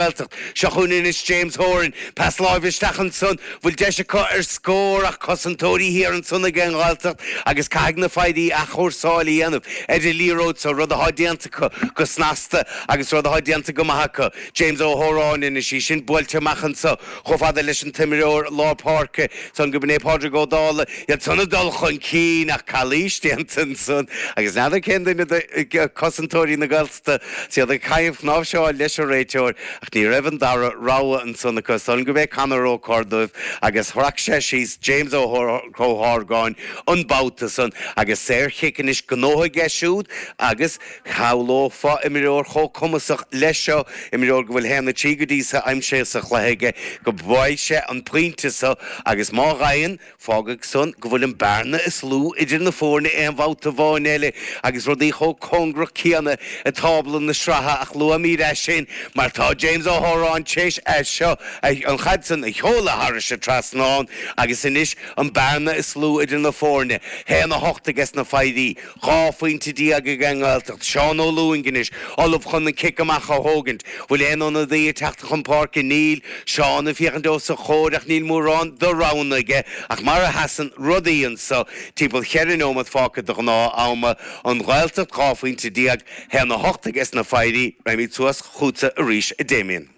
Ghaeltacht. Seo chugainn anois James Horan. Pas láimhe isteach ansan. Bhfuil deis acu ar scór ach cosantóirí thiar ansan ag an nGaeltacht agus caithfidh na Foidhrí athchúrsáil a dhéanamh ar an liathróid so, rud athá déanta acu go snasta agus rud athá déanta go maith acu. James Ó hÓráin anois, í sin buailte amach anso chomh fada leis an t-imreoir lár páirce san go b'in é Pádraig Ó Dálaigh. Iad san ag dul chun cinn ach calaois déanta ansan agus n'fheadar cén duine de cosantóirí na Gaeltachta 's iad ag caitheamh cnáimhseáil leis an réiteoir ach ní raibh an dara rogha ansan acu. Is dóigh liom gurb é Conor Ó Corrdubh agus shrac sé síos James Ó hArgáin an babhta san agus saor-chic anois gnóthaithe aige siúd agus shamhlófá imreoir chomh cumasach leis seo, imreoir go bhfuil 1-3 go dtí so aimsithe sa chluiche aige, go bhfaighidh sé an pointe so agus má fhaigheann, Fágfaidh san go bhfuil an bearna is lú idir na foirne aon bhabhta amháin eile agus rudaí chomh cóngarach céanna i dtábla na sraithe ach luafaimid é sin mar tá James Ó hÓráin tar éis é seo, an chaid san, a sheoladh thairis an trasnán agus anois an bearna is lú idir na foirne, 1-8 aige sna Foidhrí. 12 phointe ag an nGaeltacht. Seán Ó Lúing anois, ullamh chun an cic amach a thógaint. Bhfuil aon ionadaí ag teacht chun páirce? Níl. Seán ag féachaint os a chomhair ach níl mórán de roghanna aige. Ach mar a sheasann rudaí anso, timpeall cheithre neomat fágtha de ghnáth ama, an Ghaeltacht 12 phointe, 1-8 aige sna Foidhrí. Raghaimid suas chughatsa arís, a Damien.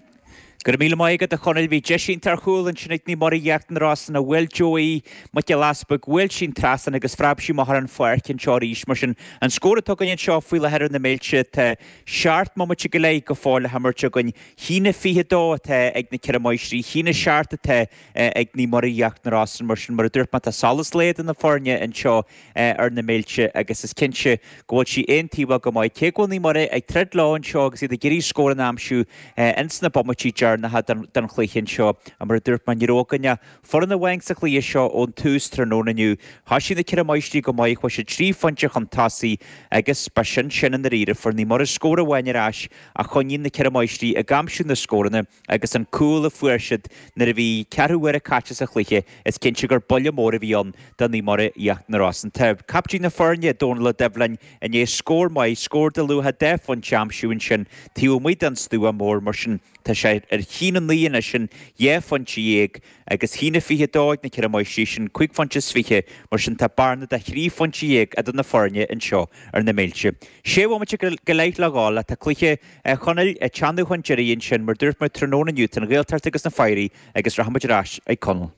Go raibh míle maith agat a Chonaill. Bhí deis iontach ar chúl ansin ag Naomh Muire Íochtar na Rosann ach bhuail Joey Mac Giolla Easpaig, bhuail sí an trasnán agus phreab sí amach ar an pháirc anseo arís. Mar sin, an scór atá againn anseo faoi láthair ar na Méilte, tá seacht mbomaite go leith go fóill le himirt againn. 1-22 atá ag na Ceithre Máistrí, 1-7 atá ag Naomh Muire Íochtar na Rosann. Mar sin, mar a dúirt mé, tá solas lae idir na foirne anseo ar na Méilte agus is cinnte go bhfuil sí aontaobhach go maith. Cé go bhfuil Naomh Muire ag troid leo anseo agus iad ag iarraidh scór a aimsiú ins na bomaití deireanacha den chluiche anseo, mar a dúirt mé, ní raibh againn ach foireann amháin sa chluiche seo ón tús tráthnóna inniu. Thoisigh na Ceithre Máistrí go maith, chuaigh siad trí phointe chun tosaigh agus ba sin sin i ndáiríre. Fuair Naomh Muire scór amháin ar ais ach choinnigh na Ceithre Máistrí ag aimsiú na scóranna. Agus an cúl a fuair siad nuair a bhí ceathrú uaire caite sa chluiche, is cinnte gur buille mór a bhí ann do Naomh Muire Íochtar na Rosann. Tá captaen na foirne, Dónal Ó Doibhlin, i ndiaidh scór maith, scór de luach dhá phointe a aimsiú ansin taobh amuigh den stua mór, mar sin tá sé ar 1-9 anois, sin dhá phointe dhéag, agus 1-22 ag na Ceithre Máistrí, sin cúig phointe is fiche, mar sin tá bearna de thrí phointe dhéag idir na foirne anseo ar na Méilte. Sé bhomaite go leith le dhul, tá cluiche A Chonaill, ag teannadh chun deiridh ansin, mar dúirt mé tráthnóna inniu, tá an Ghaeltacht agus na Foidhrí agus rachaimid ar ais ag Conall.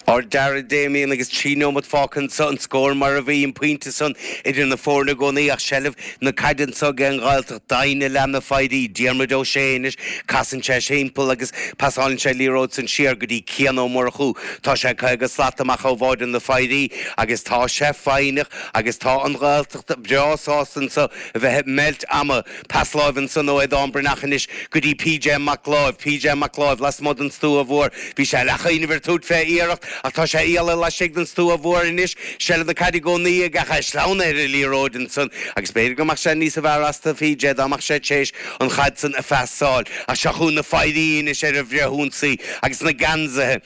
Ár dara Damien agus 3 neomat fágtha anso, an scór mar a bhí, an pointe san idir na foirne i gcónaí ach seilbh na caide anso ag an nGaeltacht, doimhne i leath na Foidhrí, Diarmuid Ó Sé anois, casann sé timpeall agus pasálann sé an liathróid san siar go dtí Cian Ó Murchú. Tá sé 50 slat amach ó bháide na Foidhrí agus tá sé foighneach agus tá an Ghaeltacht breá sásta anso a bheith ag meilt ama. Pas láimhe ansan ó Aodán Breathnach anois go dtí PJ Mac Láimh. PJ Mac Láimh lasmuigh den stua mhór. Bhí sé leathchuimhneamh ar tabhairt fé iarracht ach tá sé iallach laistigh den stua mhór anois. Seilbh na caide i gcónaí aige ach é sleamhnaithe ar an liathróid ansan agus b'fhéidir go mbeadh sé níosa bhfearr as do PJ dá mbeadh sé téis an chaid san a phasáil. Ach seo chugainn na Foidhrí anois ar an bhfrithionsaí agus na geansaithe.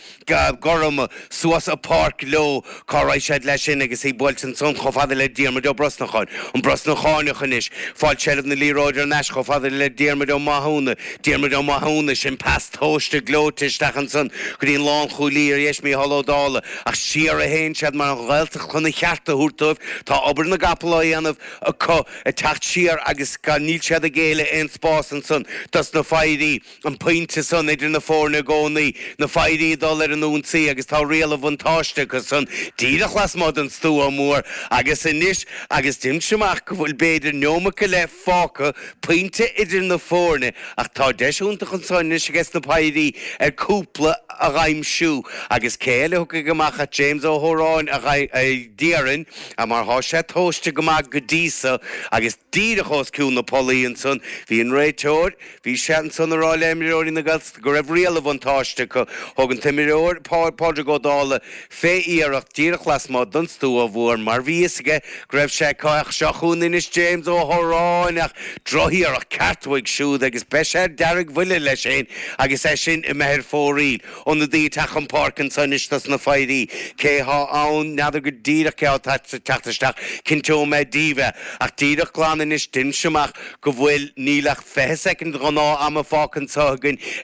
gorma suas an pháirc leo. Cá raghaidh siad leis sin agus í buailte ansan chomh fada le Diarmuid Ó Brosnacháin. An Brosnacháineach anois. Fáil seilbh na liathróide thar n-ais chomh fada le Diarmuid Ó Mathúna. Diarmuid Ó Mathúna, sin pas tomhaiste gleoite isteach ansan go dtí an lánchúlaí ar dheis, Mícheál Ó Dálaigh. Ach siar a théann siad mar an Ghaeltacht chun a cheart a thabhairt dóibh. Tá obair na gcapall á dhéanamh acu ag teacht siar agus níl siad ag géilleadh aon spás ansan dos na Foidhrí. An pointe san idir na foirne i gcónaí, na Foidhrí ag dul ar an ionsaí agus tá riail an bhuntáiste acu san díreach lasmuigh den stua mór agus anois agus deinimse amach go bhfuil b'fhéidir neomat go leith fágtha, pointe idir na foirne ach tá deis iontach anso anois aige sna Foidhrí ar cúpla a dh'aimsiú agus cé eile a thiocfaidh amach ach James Ó hÓráin a déarfainn mar thá sé tomhaiste go maith go dtí so agus díreach os cionn na pollaí ansan bhí an réiteoir Bhí sé ansan a rá le imreoirí na Gaeltachta go raibh riail an bhuntáiste acu. Thóg an t-imreoir, Pádraig Ó Dálaigh, fé iarracht díreach lasmuigh den stua mhór mar bhí fhios aige go raibh sé acu ach seo chugainn anois James Ó hÓráin ach drochiarracht ceart uaidh siúd agus beidh sé ar deargbhuile leis fhéin agus é sin imithe ar fóraoil. Ionadaí ag teacht chun páirce anso anois. dos na Foidhrí. Cé thá ann? N'fheadar go díreach cé thá ag teacht isteach. Cinnteoidh mé daoibh é. Ach díreach glan anois d'inis amach go bhfuil, níl ach 20 soicind ghnáth ama fágtha anseo againn.